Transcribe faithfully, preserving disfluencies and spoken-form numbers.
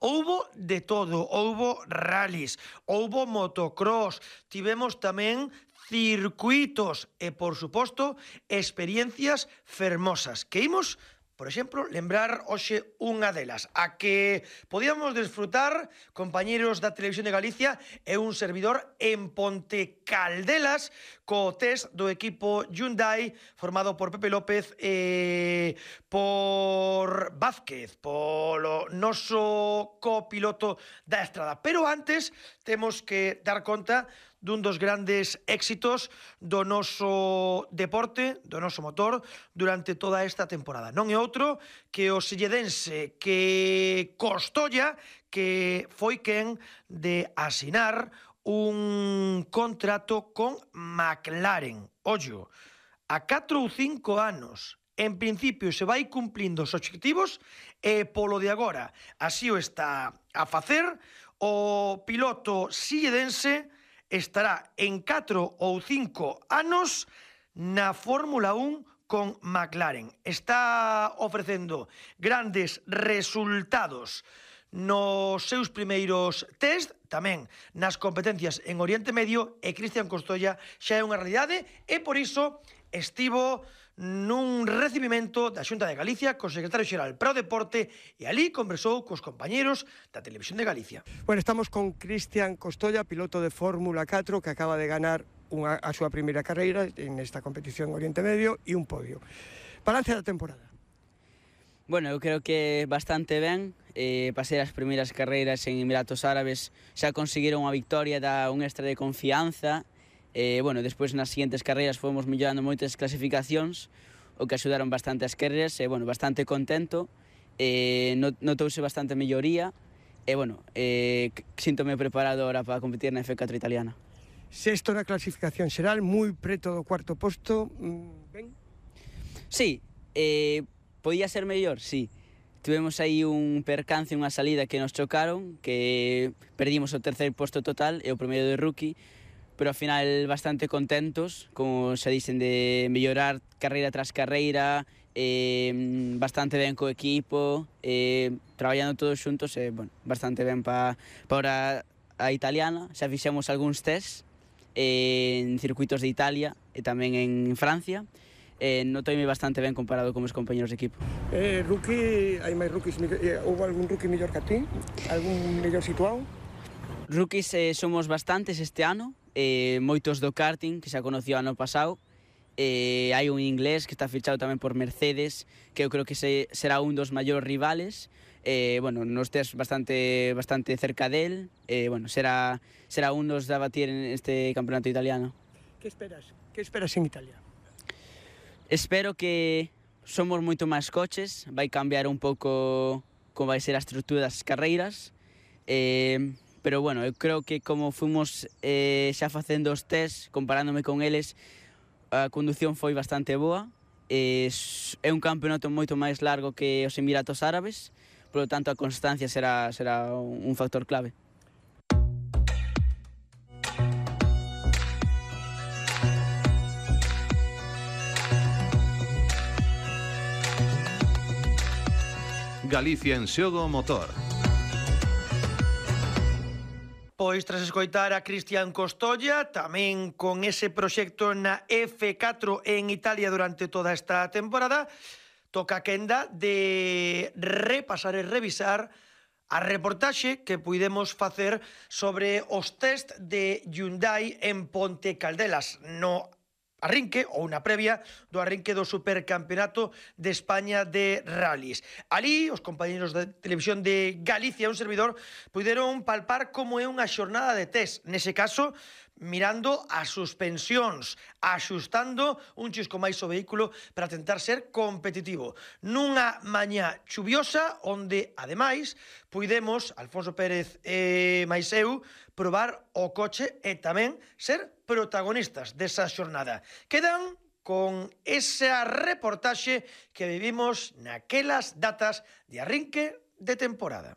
Houbo de todo, houbo rallies, houbo motocross, tivemos tamén circuitos e, por suposto, experiencias fermosas que imos, por exemplo, lembrar hoxe unha delas, a que podíamos desfrutar, compañeros da Televisión de Galicia e un servidor en Ponte Caldelas co test do equipo Hyundai formado por Pepe López e por Vázquez, polo noso copiloto da estrada. Pero antes temos que dar conta dun dos grandes éxitos do noso deporte, do noso motor, durante toda esta temporada. Non é outro que o selledense que Costolla, que foi quen de asinar un contrato con McLaren. Ollo, a catro ou cinco anos, en principio se vai cumplindo os obxectivos e polo de agora así o está a facer o piloto silledense estará en catro ou cinco anos na Fórmula un con McLaren. Está ofrecendo grandes resultados nos seus primeiros test, tamén nas competencias en Oriente Medio, e Cristian Costolla xa é unha realidade e por iso estivo nun recibimento da Xunta de Galicia co secretario xeral para o deporte e ali conversou cos compañeros da Televisión de Galicia. Bueno, estamos con Cristian Costolla, piloto de Fórmula catro, que acaba de ganar unha, a súa primeira carreira en esta competición Oriente Medio e un podio. Balance da temporada. Bueno, eu creo que bastante ben. Eh, pasei as primeiras carreiras en Emiratos Árabes, xa conseguiron unha victoria, da un extra de confianza. Eh, bueno, despois nas seguintes carreiras fomos mellorando moitas clasificacións, o que axudaron bastante as carreiras, e, bueno, bastante contento, eh, notouse bastante melloría, e, bueno, eh, síntome preparado ahora para competir na F catro italiana. Sexto na clasificación xeral, moi preto do cuarto posto, ben? Sí, eh, podía ser mellor, sí. Tivemos aí un percance, unha salida que nos chocaron, que perdimos o terceiro posto total e o primeiro de rookie, pero ao final bastante contentos, como se dicen, de mellorar carreira tras carreira, eh, bastante ben co equipo, eh, traballando todos xuntos, e, bueno, bastante ben pa, para a italiana. Xa fixemos algúns test eh, en circuitos de Italia e tamén en Francia, eh, notoime bastante ben comparado con os compañeros de equipo. Eh, rookie, hai máis rookies, eh, houve algún rookie mellor que a ti? Algún mellor situado? Rookies eh, somos bastantes este ano, eh, moitos do karting, que xa conoció ano pasado. Eh, hai un inglés que está fichado tamén por Mercedes, que eu creo que se, será un dos maiores rivales. Eh, bueno, nos test bastante bastante cerca del. Eh, bueno, será será un dos de abatir en este campeonato italiano. Que esperas? Que esperas en Italia? Espero que somos moito máis coches, vai cambiar un pouco como vai ser a estrutura das carreiras. Eh, Pero, bueno, eu creo que como fomos eh, xa facendo os test, comparándome con eles, a condución foi bastante boa. Eh, é un campeonato moito máis largo que os Emiratos Árabes, polo tanto a constancia será, será un factor clave. Galicia en xogo motor. Pois tras escoitar a Cristian Costolla, tamén con ese proxecto na F catro en Italia durante toda esta temporada, toca a quenda de repasar e revisar a reportaxe que puidemos facer sobre os test de Hyundai en Ponte Caldelas, no arrinque ou na previa do arrinque do Supercampeonato de España de Rallys. Ali, os compañeros da Televisión de Galicia, un servidor, puderon palpar como é unha xornada de test. Nese caso, mirando as suspensións, axustando un chisco máis o vehículo para tentar ser competitivo. Nunha mañá chuviosa, onde, ademais, puidemos, Alfonso Pérez e máis eu, probar o coche e tamén ser protagonistas desa xornada. Quedan con esa reportaxe que vivimos naquelas datas de arrinque de temporada.